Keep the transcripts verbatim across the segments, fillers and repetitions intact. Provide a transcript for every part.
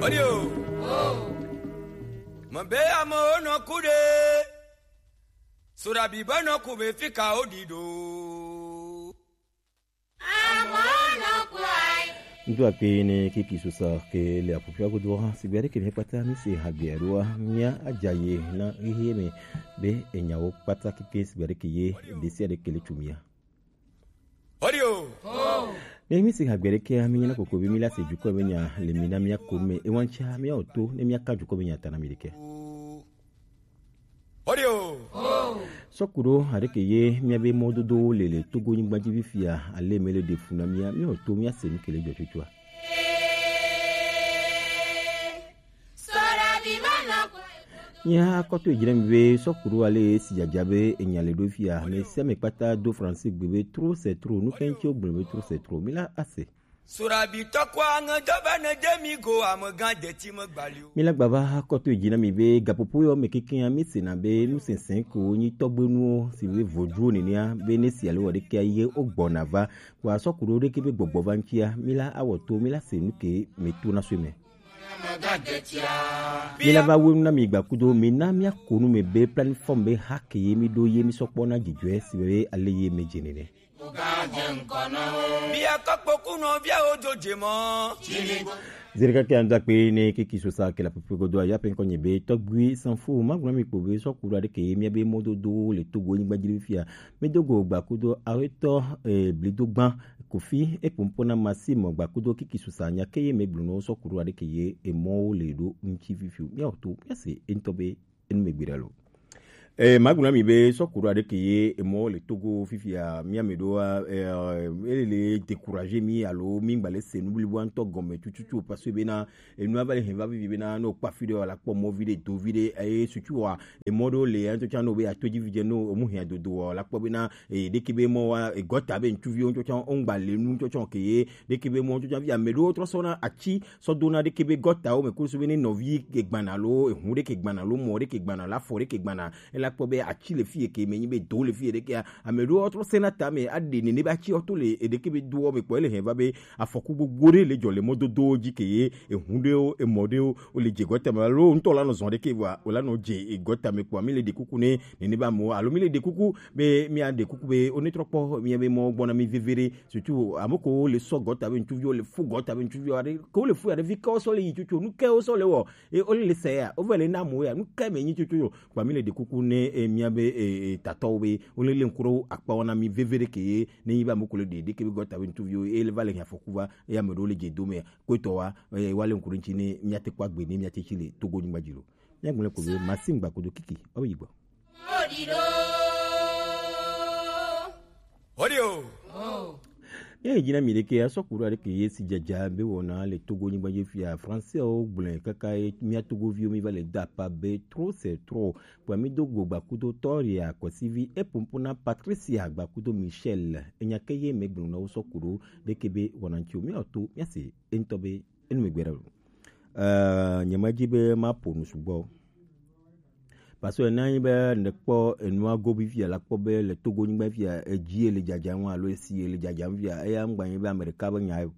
Odio. Mabe amo no kude. Surabi bano kube fika odido. Amo no kwai. Ŋdo akpe ne kiki susa ke le apupia godo, sigbere ke mi kpata mi se hagbia doa, mia ajaye na ihe mi be enyawo kpata kike sigbere ke ye, desi ade kele tumia. Odio. Ne mi si hagbere ke ami na koko bi mi la se juko be nya le mi na mi ako me e wancha mi oto ne mi aka juko be nya tana mi deke. Odio. Sokuro adeke ye mi abe mododo lele Togo nyigba ji bi fia ale mele de funa mi mi oto mi ase mi kele jo tutua. Nya koto ejire mi be sokuru ale si jaja be enyale do fia, me se me kpata do français gbe be trop c'est trop, nu kenchi o gbe be trop c'est trop. Mi la ase. Surabi tokwa nge dobe ne demi go amegan deti me gbali o. Mi la gbava koto ejina mi be gapopo yo me keke ya mi se na be nu sensen ko nyi togbe nu o si be voju ni ni a be ne si ale wo de ke ye o gbona va. Wa sokuru de ke be gbogbo va nchi a, mi la awoto, mi la se nu ke me tu na so me. Mi la va wenu na mi gba kudo, mi na mi akonu me be plateforme be hake ye mi do ye mi sokpo na jijwe si be ale ye me jenene. Bia kokpo kuno bia ojo jemo. Zerika ke anda pe ne kiki sosa ke la pepe godo ya pe nkonye be togbui sanfu maguna mi kpo be sokuru adeke ye mi abe mododo le Togo nyigba jiri fia. Mi dogo gba kudo aweto, eh, blido gban Kofi e pompo na Masimo gba kudo kiki susa nya ke ye me gbluno sokuru adeke ye e mo le do nchi fifiu. Mi oto, mi ase ento be enu me gbira lo. Eh, maguna mi be sokuru adeke ye e mo le Togo fifia mi amedo a, eh, ele le décourager mi alo mi ngba le se nu blibo anto gome tututu parce que be na enu ava le hen va vivi be na no kpa fi de wala kpo mo vi de do vi de, eh, surtout wa e mo do le anto cha no be ato ji vi je no o mu hen do do wala kpo be na, eh, de ke be mo wa, eh, gota be ntu vi o nto cha o ngba le nu nto cha ke ye de ke be mo nto cha vi amedo tro so na achi so do na de ke be gota o me kusu be ni no vi ke gbana lo, eh, hu de ke gbana lo, mo de ke gbana la fo de ke gbana e la kpo be achi le fi ke me nyi be do le fi de ke a, amedo tro se na ta me a de ne ne ba chi o to le, eh, de ke be do o me kpo le hen va be afɔku gbogbo ɖe le dzɔ le mɔdodowo dzi ke ye ehu ɖewo, emɔ ɖewo, wo le dze gɔta me alo ŋutɔ la nɔ zɔn ɖe ke vɔa, wo la nɔ dze gɔta me kpoa, mi le ɖe kuku ne nene ba mo, alo mi le ɖe kuku be, mi a ɖe kuku be, wo ne trɔ kpɔ mi be mɔ gbɔna mi veve ɖe, surtout ame ko wo le sɔ gɔta be ŋutsuviwo le fu gɔta be ŋutsuviwo aɖe, ke wo le fu ya ɖe vi ke wo sɔ le yi tsotso, nu ke wo sɔ le wɔ, e wo le sɛ ya, wo vɛ le na mo ya, nu ke me nyi tsotso yo, kpoa mi le ɖe kuku ne, e, mia be, e, e, tatɔwo be, wo le le ŋku ɖe wo akpa wɔna mi veve ɖe ke ye, ne yi va mo ko le ɖe, ɖe ke be gɔta be ŋutsuviwo, e le va le hia fɔku va, eya ame ɖewo le dze do me, kpetɔ wa, eye wa le ŋku ɖe ŋuti ne míate kpɔ agbe ne míate tsi le Togo nyigba dzi lo. Míagblɔe ko be Maxime Gbakodo Kiki, woawo yi gbɔ. Odio. Míayi dzi na mi ɖeke, asɔ ku ɖo aɖeke ye si dzadza be wɔna le Togo nyigba dzi fia. Français wo gblɔe kaka ye mía Togoviwo mi va le da apa be trop c'est trop. Kpɔa mi do go Gbakodo tɔ ya kɔsivi epompo na Patricia Gbakodo Michel. Enya ke ye me gblɔ na wo sɔ ku ɖo ɖeke be wɔna ŋuti o. Míato, míase eŋutɔ be enu megbe ɖa lo. Eh, nyemedzi be maƒo nu sugbɔ o. Parce que ne anyi be nèkpɔ enua go bi fia la, kpɔ be le Togo nyigba fia, edzi ele dzadzam alo esi ele dzadzam fia, eya ŋgba nyi be ame ɖeka be nya o.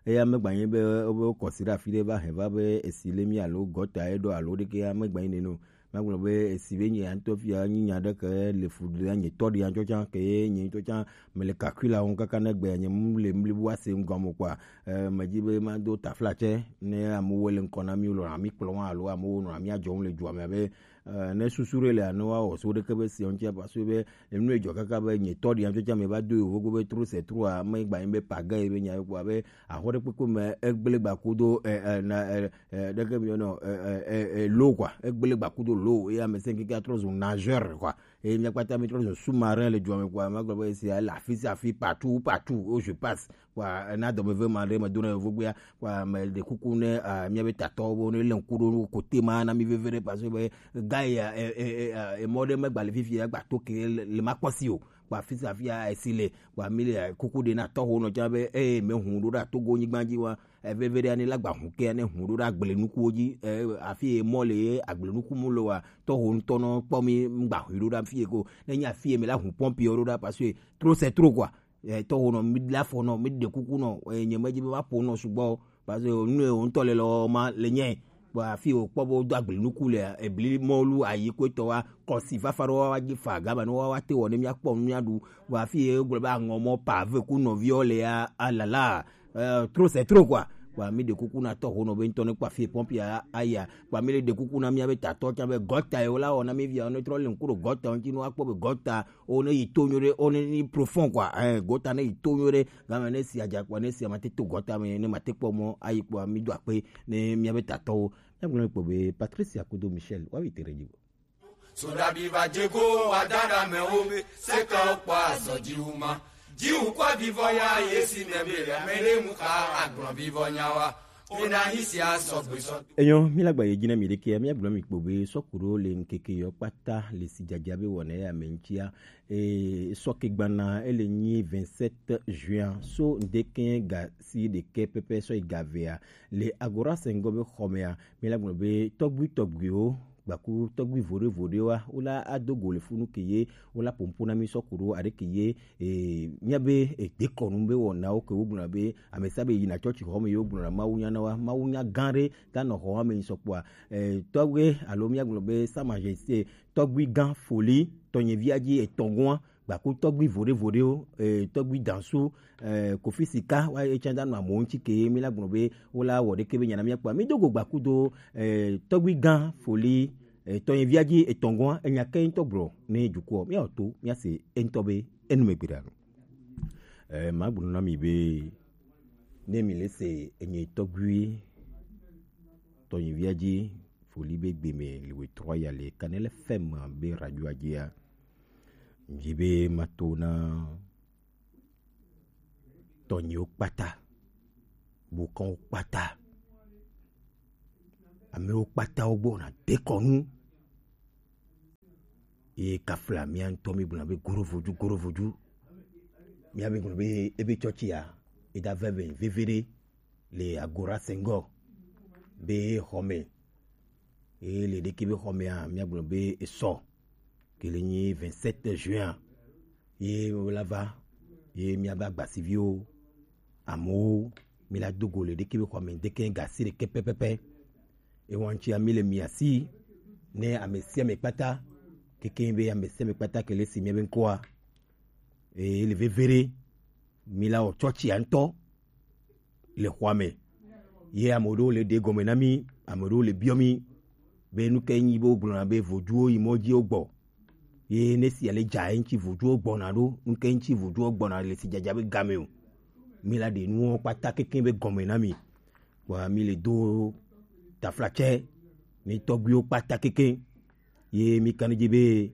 Eya megba nyi be wobe wokɔ si ɖe afi ɖe va hɛn va be esi le mi alo gɔta ye ɖo alo ɖeke ya megba nyi nene o. Magblɔ be esi be nye ya ŋutɔ fia nyi nya ɖe ke le fu ɖe nye tɔ ɖe ya ŋutɔ tsã ke ye nye ŋutɔ tsã mele calcul la wɔm kaka ne gbe nye mu le mli bu ase ŋgɔ mo kpɔa, eh, medzi be mado taflatse ne amewo le ŋkɔ na mi lɔna mi kplɔ alo amewo nɔna mi adzɔm le dua me abe, eh, ne susu ɖe le ane woawɔ so ɖeke be sia ŋutia parce que be enu edzɔ kaka be nye tɔ ɖe ya ŋutɔ tsã me va do yovo go be trop c'est trop a megba nyi be paga ye be nya ye kpɔa be axɔ ɖe kpekpe me egble gba kudo, eh, eh, na, eh, eh, ɖeke mi yɔnɔ, eh, eh, eh, eh, lo quoi, egble gba kudo lo, ye ame sɛn keke atrɔ zu nageur quoi, ye mía kpata mi trɔ zu sous-marin le dua me quoi, magblɔ be sia le afi sia afi, partout, partout où je passe quoi, na dɔme ve ma ɖe me do na yovo gbea quoi, me ɖe kuku ne, ah, mía be tatɔwo bo ne le ŋku ɖo no kote ma na mi veve ɖe parce que be gars ya, eh, eh, eh, eh, mɔ ɖe megba le fifi ya gba to ke le, le ma kpɔ si o. Kpa fi sia fi a esi le, kpa mi le, eh, kuku ɖe na tɔxo nɔ tsã be, eh, me hu ɖo ɖa Togo nyigba dzi wa, eh, veve ɖe ne la gba hu ke ne hu ɖo ɖa agble nukuwo dzi, eh, afi ye mɔ le ye agble nuku mu le wa, tɔxo ŋutɔ nɔ kpɔ mi ŋgba hui ɖo ɖa fi ye ko, ne nya fi ye me la hu pɔmpi ɖo ɖa parce que trop c'est trop quoi, eh, tɔxo nɔ mi la fɔ nɔ, mi ɖe kuku nɔ, eh, nye me dzi be ma ƒo nɔ sugbɔ o. Parce que nu ye wo ŋutɔ le lɔ ma le nye. Bɔ afi wo kpɔ bo do agble nuku le ebli mɔlu ayi ko etɔ wa kɔsi fafa ɖo wa wa dzi fa gama ne wa wa te wɔ ne mia kpɔ nu mia ɖu. Bɔ afi ye gblɔ be aŋɔ mɔ pave ku nɔviɔ le ya alala. Euh, trop c'est trop quoi. Bɔ mi ɖe kuku na tɔ ho nɔ be ŋutɔ ne kpa fi pɔmpi a aya. Bɔ mi le ɖe kuku na mia be tatɔ tsa be gɔta ye wo la wɔ na mi via ne trɔ le ŋku ɖo gɔta ŋuti ne wa kpɔ be gɔta o ne yi to nyo ɖe o ne ni profond quoi. Eh, gɔta ne yi to nyo ɖe. Game ne si adza kpɔ ne si amate to gɔta me ne mate kpɔ mɔ ayi kpɔ mi do akpe ne mia be tatɔwo. Mia gblɔ kpɔ be Patricia kudo Michel wa wi tere dzi. Sodabi va dze go wa da ɖe amewo be sekawo kpɔ azɔ dziwu ma. Dziwu kpɔ vivɔ ya ye si me be le ame ɖe mu xa agblɔ vivɔ nya wa. Ena hi sia sɔgbe sɔ. Enyo, mi la gba ye dzi na mi ɖekea, mia gblɔ mi kpɔ be sɔkuɖo le ŋkeke yɔ kpata le si dzadza be wɔna ya me ŋutia. E, sɔ ke gbana ele nyi vingt-sept juin so ŋdeke ga si ɖeke pɛpɛ sɔ yi ga vea le Agora sɛngɔ be xɔmea. Mi la gblɔ be tɔgbui tɔgbuiwo gbaku tɔgbui voɖe voɖewoa wo la ado go le funu ke ye wo la pompo na mi sɔ ku ɖo aɖe ke ye. E, mia be e, dekɔnu be wɔnawo ke wo gblɔna be amesa be yina tsɔtsi xɔme ye wo gblɔna mawu nya na wa mawu nya gã ɖe ta nɔ xɔ ame yi sɔkpɔa. E, tɔgbe alo mia gblɔ be sa majesté tɔgbui gã foli tɔnyevia dzi etɔngua gbaku tɔgbui voɖe voɖewo, eh, tɔgbui dansu, eh, kofi sika wa etsã da nɔ amewo ŋuti ke mi la gblɔ be wo la wɔ ɖeke be nyana mia kpɔa mi do go gbaku do, eh, tɔgbui gã foli, eh, tɔnyevia dzi etɔngua enya ke ŋutɔ gblɔ ne dukɔ mia to mia se eŋutɔ be enu me gbe ɖa. Eh, ma gblɔ na mi be ne mi le se enye tɔgbui tɔnyevia dzi foli be gbe me le we trɔ ya le kanele fɛm be radio adzia. Ŋdzi be mato na tɔnyiwo kpata, bukɔnwo kpata, amewo kpata wo gbɔ na dekɔnu. Ye kafla mia ŋutɔ mi gblɔna be gorovodu gorovodu. Mia be gblɔ be ebe tsɔtsi ya eda veve veve ɖe le Agora Senghor be xɔme. Eye le ɖeke be xɔmea, míagblɔ be esɔ ke le nyi vingt-sept juin a, ye wola va, ye míabe agbasiviwo, amewo, míla do go le ɖeke be xɔme ŋdeke ga si ɖeke pɛpɛpɛ. Ewa ŋutia míle mia si ne ame sia ame kpata, keke be ame sia ame kpata ke le si míabe ŋkɔa. Eye le veve ɖe, míla wɔ tsɔtsia ŋutɔ le xɔa me. Ye ame ɖewo le ɖe gɔme na mí, ame ɖewo le biɔ mí be nu kae nyi be wogblɔna be voduwo yi mɔ dzi wogbɔ. Ye ne sia le dza eŋuti voduwo gbɔna ɖo, nu kae ŋuti voduwo gbɔna le si dzadza be game o. Míla ɖe nuwo kpata kekeŋ be gɔme na mí. Kpɔa mí le do taflatsɛ ne tɔgbuiwo kpata kekeŋ. Ye mi kan dzi be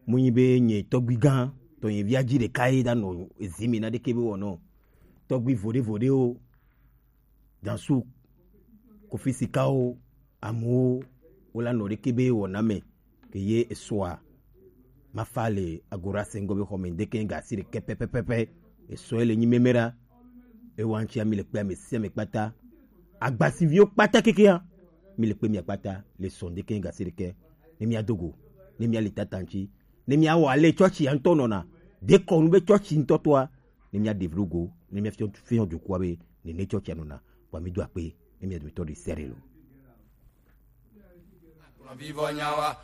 mu nyi be nye tɔgbui gã tɔ nye via dzi ɖeka ye da nɔ ezi mi na ɖeke be wɔnɔ. Tɔgbui voɖe voɖewo, dansu, kofi sikawo, amewo wola nɔ ɖeke be wɔna me ke ye esɔa. Mafa le Agora Sengo be xɔme ŋdeke ga si ɖeke pɛpɛpɛpɛ. Esɔ ye le nyi meme ɖa. Ewa ŋuti ami le kpe ame sia ame kpata. Agbasiviwo kpata kekea. Mi le kpe mia kpata le sɔ ŋdeke ga si ɖeke. Ne mia dogo, ne mia li tata ŋuti, ne mia wɔ ale tsɔtsi ya ŋutɔ nɔna. Dekɔnu be tsɔtsi ŋutɔ tɔa, ne mia ɖe vlo go, ne mia fiɔ fiɔ dukɔa be ne ne tsɔtsi ya nɔna. Wa mi do akpe, ne mia dometɔ ɖe sia ɖe lo. Vivɔ nyawa,